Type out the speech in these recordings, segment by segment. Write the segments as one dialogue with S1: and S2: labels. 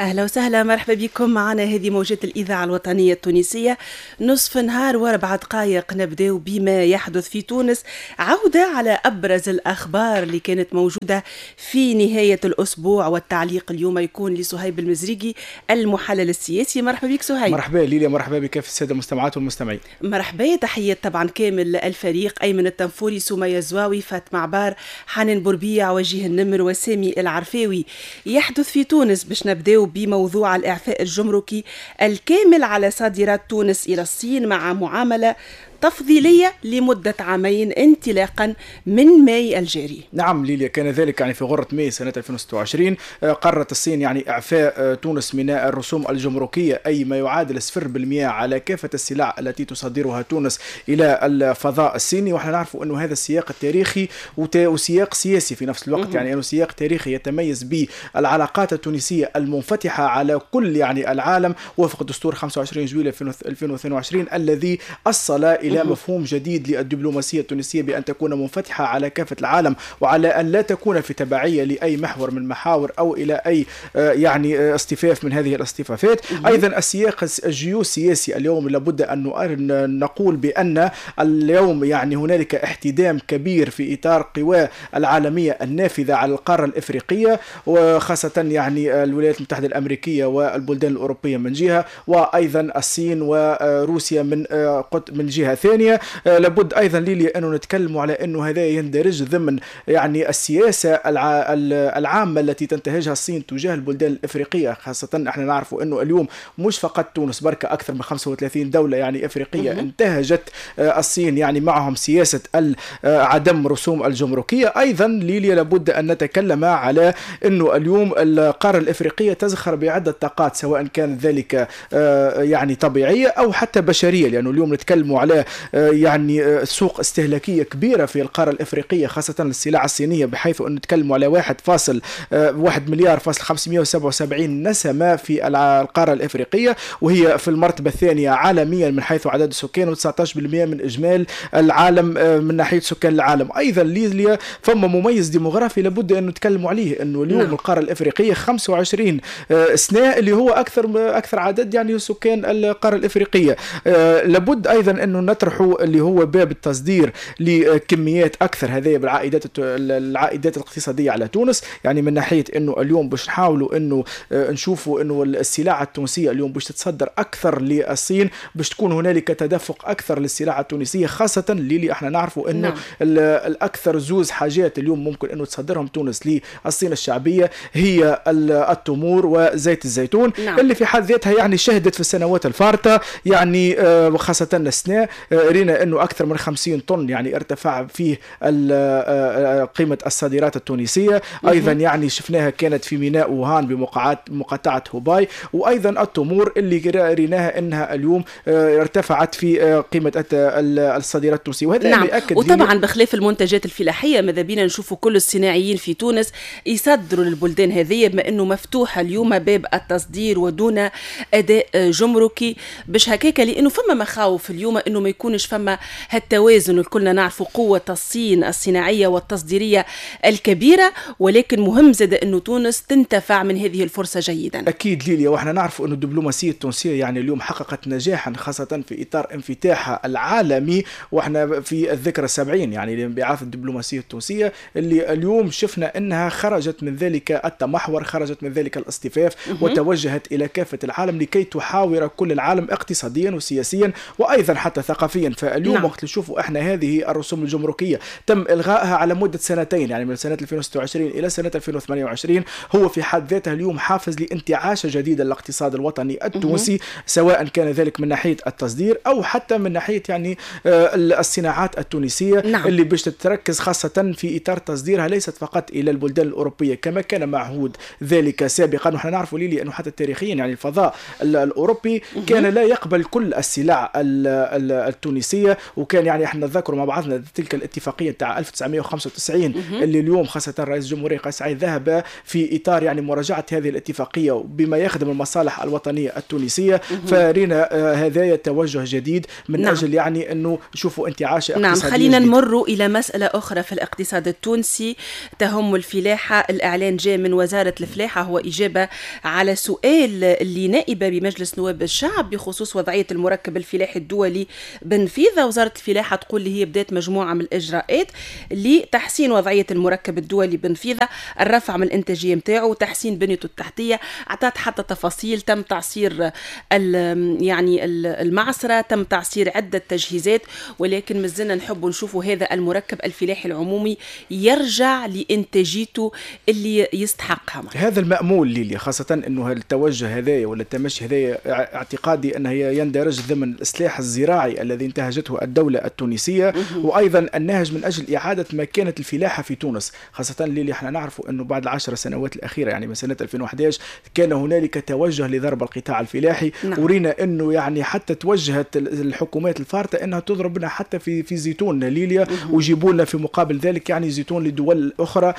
S1: أهلا وسهلا، مرحبا بكم معنا. هذه موجات الإذاعة الوطنية التونسية، نصف نهار و4 دقائق. نبدأ بما يحدث في تونس، عودة على أبرز الأخبار اللي كانت موجودة في نهاية الأسبوع، والتعليق اليوم يكون لصهيب المزريقي المحلل السياسي. مرحبا بك صهيب.
S2: مرحبا ليليا، مرحبا بك في السادة المستمعات والمستمعين.
S1: مرحبا، تحية طبعا كامل الفريق: أيمن التنفوري، سمية الزواوي، فاطمة عبار، حنان بوربيع، وجيه النمر وسامي العرفاوي. يحدث في تونس، باش نبداو بموضوع الإعفاء الجمركي الكامل على صادرات تونس إلى الصين مع معاملة تفضيلية لمدة عامين انطلاقا من ماي الجاري.
S2: نعم ليليا، كان ذلك يعني في غرة ماي سنة 2026. قررت الصين يعني إعفاء تونس من الرسوم الجمركية، أي ما يعادل 0% على كافة السلع التي تصدرها تونس إلى الفضاء الصيني. ونحن نعرف أنه هذا السياق التاريخي وسياق سياسي في نفس الوقت، يعني أنه سياق تاريخي يتميز بالعلاقات التونسية المنفتحة على كل يعني العالم وفق دستور 25 جويلية 2022 الذي أصل إلى مفهوم جديد للدبلوماسية التونسية بأن تكون منفتحة على كافة العالم وعلى أن لا تكون في تبعية لأي محور من محاور أو إلى أي يعني اصطفاف من هذه الاصطفافات. أيضا السياق الجيوسياسي اليوم، لابد أن نقول بأن اليوم يعني هنالك احتدام كبير في إطار قوى العالمية النافذة على القارة الإفريقية، وخاصة يعني الولايات المتحدة الأمريكية والبلدان الأوروبية من جهة، وأيضا الصين وروسيا من جهة ثانية. لابد أيضا ليلي أنه نتكلم على أنه هذا يندرج ضمن يعني السياسة العامة التي تنتهجها الصين تجاه البلدان الإفريقية، خاصة احنا نعرف أنه اليوم مش فقط تونس بركة، أكثر من 35 دولة يعني إفريقية انتهجت الصين يعني معهم سياسة عدم رسوم الجمركية. أيضا ليليا، لابد أن نتكلم على أنه اليوم القارة الإفريقية تزخر بعدة طاقات، سواء كان ذلك يعني طبيعية أو حتى بشرية، لأنه اليوم نتكلم على يعني سوق استهلاكية كبيرة في القارة الإفريقية، خاصة السلع الصينية، بحيث أن نتكلم على 1.1 مليار 577 نسمة في القارة الإفريقية، وهي في المرتبة الثانية عالميا من حيث عدد السكان، و19% من إجمال العالم من ناحية سكان العالم. أيضا ليليا، فما مميز ديموغرافي لابد أن نتكلم عليه، أنه اليوم القارة الإفريقية 25 سنة اللي هو أكثر عدد يعني سكان القارة الإفريقية. لابد أيضا أنه نطرح اللي هو باب التصدير لكميات أكثر، هذه بالعائدات العائدات الاقتصادية على تونس، يعني من ناحية أنه اليوم باش نحاولوا أنه نشوفوا أنه السلع التونسية اليوم باش تتصدر أكثر للصين، باش تكون هنالك تدفق أكثر للسلع التونسية، خاصة اللي احنا نعرفوا أنه الأكثر زوز حاجات اليوم ممكن أنه تصدرهم تونس للصين الشعبية هي التمور وزيت الزيتون، اللي في حد ذاتها يعني شهدت في السنوات الفارطة يعني وخاصة السنة رينا أنه أكثر من 50 طن يعني ارتفع فيه قيمة الصادرات التونسية. أيضا يعني شفناها كانت في ميناء ووهان بمقاطعة هوباي، وأيضا التمور اللي ريناها أنها اليوم ارتفعت في قيمة الصادرات التونسية، وهذا يأكد
S1: وطبعا بخلاف المنتجات الفلاحية، ماذا بينا نشوفوا كل الصناعيين في تونس يصدروا للبلدان هذه، بما أنه مفتوحة اليوم باب التصدير ودون أداء جمركي، باش هكاك، لأنه فما مخاوف اليوم أنه ما يكونش فما هالتوازن. الكلنا نعرفوا قوة الصين الصناعية والتصديرية الكبيرة، ولكن مهم زاد أنه تونس تنتفع من هذه الفرصة جيدا.
S2: أكيد ليليا، وإحنا نعرف أن الدبلوماسية التونسية يعني اليوم حققت نجاحا، خاصة في إطار انفتاحها العالمي، وإحنا في الذكرى 70 يعني لانبعاث الدبلوماسية التونسية، اللي اليوم شفنا أنها خرجت من ذلك التمحور، خرجت من ذلك الاصطفاف وتوجهت إلى كافة العالم لكي تحاور كل العالم اقتصاديا وسياسيا وأيضا حتى ثقافيا. فاليوم وقت نشوفوا احنا هذه الرسوم الجمركية تم إلغائها على مدة سنتين، يعني من سنة 2026 إلى سنة 2028، هو في حد ذاته اليوم حافز لانتعاش جديد للاقتصاد الوطني التونسي، سواء كان ذلك من ناحية التصدير أو حتى من ناحية يعني الصناعات التونسية اللي باش تتركز خاصة في إطار تصديرها ليست فقط إلى البلدان الأوروبية كما كان معهود ذلك سابقا. ونحن نعرف ليلي أنه حتى تاريخيا يعني الفضاء الأوروبي كان لا يقبل كل السلع التونسية. وكان يعني احنا نذكروا مع بعضنا تلك الاتفاقية تاع 1995 اللي اليوم خاصة رئيس الجمهورية قيس سعيد ذهب في اطار يعني مراجعه هذه الاتفاقية بما يخدم المصالح الوطنية التونسية. فرينا هذايا توجه جديد من اجل يعني انه نشوفوا انتعاش اقتصادي.
S1: نعم، خلينا نمر الى مسالة اخرى في الاقتصاد التونسي تهم الفلاحة. الاعلان جاء من وزارة الفلاحة، هو اجابه على سؤال اللي نائبه بمجلس نواب الشعب بخصوص وضعية المركب الفلاحي الدولي بنفيذه. وزارة الفلاحة تقول اللي هي بدات مجموعة من الاجراءات لتحسين وضعية المركب الدولي بنفيذه، الرفع من الانتاجية نتاعو وتحسين بنيته التحتية. اعطت حتى تفاصيل، تم تعصير يعني المعصره، تم تعصير عده تجهيزات، ولكن مازلنا نحب نشوفوا هذا المركب الفلاحي العمومي يرجع لانتاجيته اللي يستحقها.
S2: هذا المأمول ليلي، خاصة انه التوجه هذايا ولا التمشي هذايا اعتقادي انه يندرج ضمن الاصلاح الزراعي الذي انتهجته الدولة التونسية، وايضا النهج من اجل اعادة مكانة الفلاحة في تونس، خاصة ليلي احنا نعرفوا انه بعد ال10 سنوات الاخيرة يعني من سنة 2011 كان هنالك توجه لضرب القطاع الفلاحي. ورينا انه يعني حتى توجهت الحكومات الفارطة انها تضربنا حتى في زيتون ليليا، ويجيبوا لنا في مقابل ذلك يعني زيتون لدول اخرى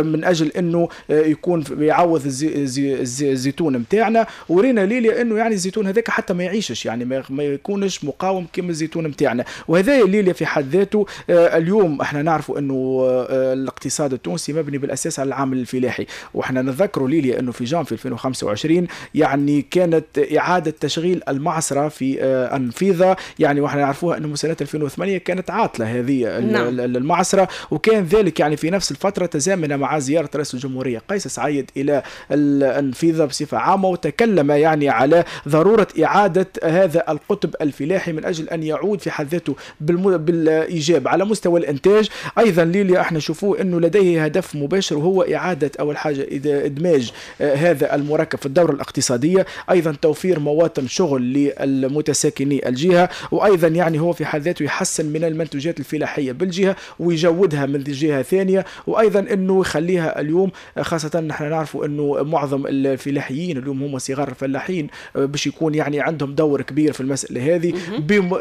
S2: من اجل انه يكون يعوض الزيتون نتاعنا. ورينا ليليا انه يعني الزيتون هذاك حتى ما يعيشش، يعني ما يكونش مقاوم كما الزيتون نتاعنا. وهذا ليليا في حد ذاته اليوم احنا نعرفوا انه الاقتصاد التونسي مبني بالاساس على العامل الفلاحي، واحنا نذكروا ليليا انه في جانفي 2025 يعني كانت اعاده تشغيل المعصره في النفيضه، يعني واحنا نعرفوها انه سنة 2008 كانت عاطلة هذه المعصره، وكان ذلك يعني في نفس الفترة تزامن مع زيارة رئيس الجمهورية قيس سعيد الى النفيضه بصفة عامة، وتكلم يعني على ضرورة اعاده هذا القطب الفلاحي من اجل ان يعود في حد ذاته بالايجاب على مستوى الانتاج. ايضا ليليا احنا نشوفوه انه لديه هدف مباشر، وهو اعاده اول حاجة ادماج هذا المركب في الدورة الاقتصادية، ايضا توفير مواطن شغل للمتساكني الجهة، وايضا يعني هو في حد ذاته يحسن من المنتوجات الفلاحية بالجهة ويجودها من جهة ثانية، وايضا انه يخليها اليوم خاصة نحن نعرفوا انه معظم الفلاحيين اليوم هم صغار الفلاحين باش يكون يعني عندهم دور كبير في المسالة هذه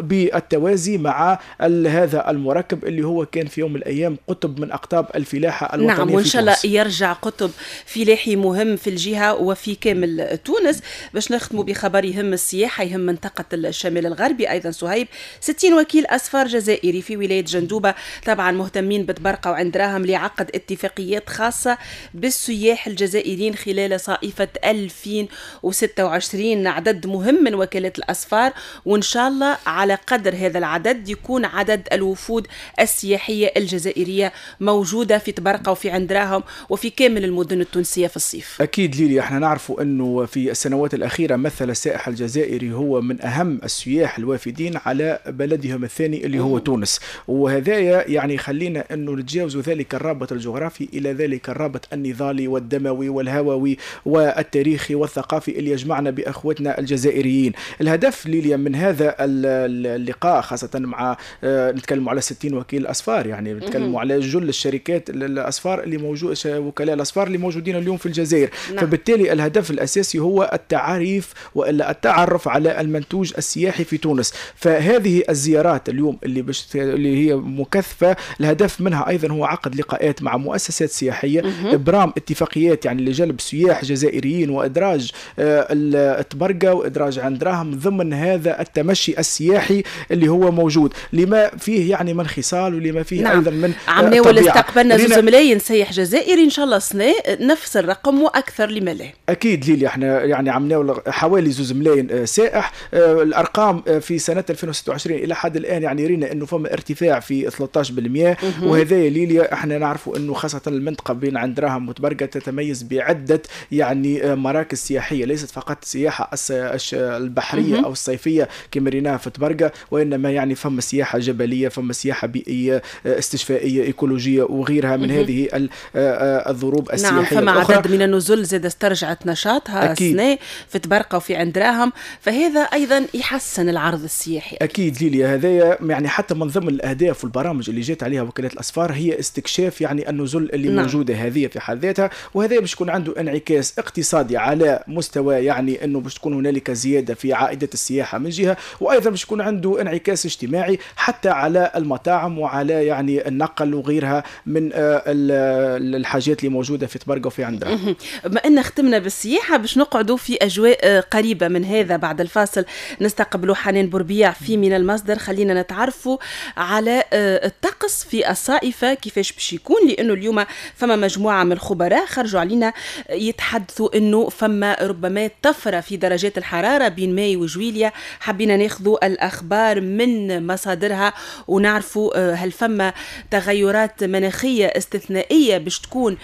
S2: بالتوازي مع هذا المركب اللي هو كان في يوم من الايام قطب من اقطاب الفلاحة الوطنية.
S1: نعم، وان شاء الله يرجع قطب فلاحي مهم في الجهة وفي كامل تونس. باش نختموا بخبر يهم السياحة، يهم منطقة الشمال الغربي ايضا. صهيب، 60 وكيل اسفار جزائري في ولاية جندوبه طبعا مهتمين بتبرقه وعند راهم لعقد اتفاقيات خاصة بالسياح الجزائريين خلال صائفه 2026. عدد مهم من وكالات الاسفار، وان شاء الله على قدر هذا العدد يكون عدد الوفود السياحية الجزائرية موجودة في تبرقه وفي عندراهم وفي كامل المدن التونسية في الصيف.
S2: اكيد ليلي احنا نعرفوا انه في السنوات الاخيرة مثل السائح الجزائري هو من اهم السياح الوافدين على بلدهم الثاني اللي هو تونس، وهذايا يعني خلينا انه نتجاوزوا ذلك الرابط الجغرافي الى ذلك الرابط النضالي والدموي والهووي والتاريخي والثقافي اللي يجمعنا باخوتنا الجزائريين. الهدف ليليا من هذا اللقاء خاصة مع نتكلم على 60 وكيل اسفار، يعني نتكلم على جل الشركات الاسفار اللي موجود، وكلاء الاسفار اللي موجودين اليوم في الجزائر. فبالتالي الهدف الاساسي هو التعريف والا التعرف على المنتوج السياحي في تونس. فهذه الزيارات اليوم اللي هي مكثفة، الهدف منها ايضا هو عقد لقاءات مع مؤسسات سياحية، ابرام اتفاقيات يعني لجلب سياح جزائريين وادراج التبرقه وادراج عندراهم ضمن هذا التمشي السياحي اللي هو موجود، لما فيه يعني من خصال ولما فيه ايضا من
S1: عمناول استقبلنا 2 ملايين سياح جزائري، ان شاء الله سنة نفس الرقم واكثر لما لا.
S2: اكيد ليلي احنا يعني عمناول حوالي 2 ملايين سائح. الارقام في سنة 2026 الى حد الان يعني رينا انه فما ارتفاع في 13%، وهذا ليليا احنا نعرفوا انه خاصة المنطقة بين عندراهم وتبرقه تتميز بعده يعني مراكز سياحية، ليست فقط السياحة البحرية او الصيفية كما ريناها في تبرقه، وانما يعني فما سياحة جبلية، فما سياحة بيئية، استشفائيه، ايكولوجيه وغيرها من هذه الضروب السياحية.
S1: نعم، فما عدد من النزل زاد استرجعت نشاطها السنة في تبرقه وفي عندراهم، فهذا ايضا يحسن العرض السياحي.
S2: اكيد ليليا هذايا يعني حتى من ضمن الاهداف والبرامج اللي جات عليها وكالات الاسفار هي استكشاف يعني النزل اللي موجودة هذه في حد ذاتها، وهذا باش يكون عنده انعكاس اقتصادي على مستوى يعني انه باش تكون هنالك زيادة في عائدات السياحة من جهة، وايضا باش يكون عنده انعكاس اجتماعي حتى على المطاعم وعلى يعني النقل وغيرها من الحاجات اللي موجودة في طبرقه وفي عندها.
S1: بما ان ختمنا بالسياحه، باش نقعدوا في اجواء قريبه من هذا. بعد الفاصل نستقبلوا حنان بوربيع في من المصدر. خلينا نتعرفوا على الطقس في الصائفه كيفاش باش يكون، لانه اليوم فما مجموعة من الخبراء خرجوا علينا يتحدثوا انه فما ربما طفرة في درجات الحرارة بين ماي وجويليا. حبينا ناخذوا الاخبار من مصادرها ونعرفوا هل فما تغيرات مناخيه استثنائية باش تكون.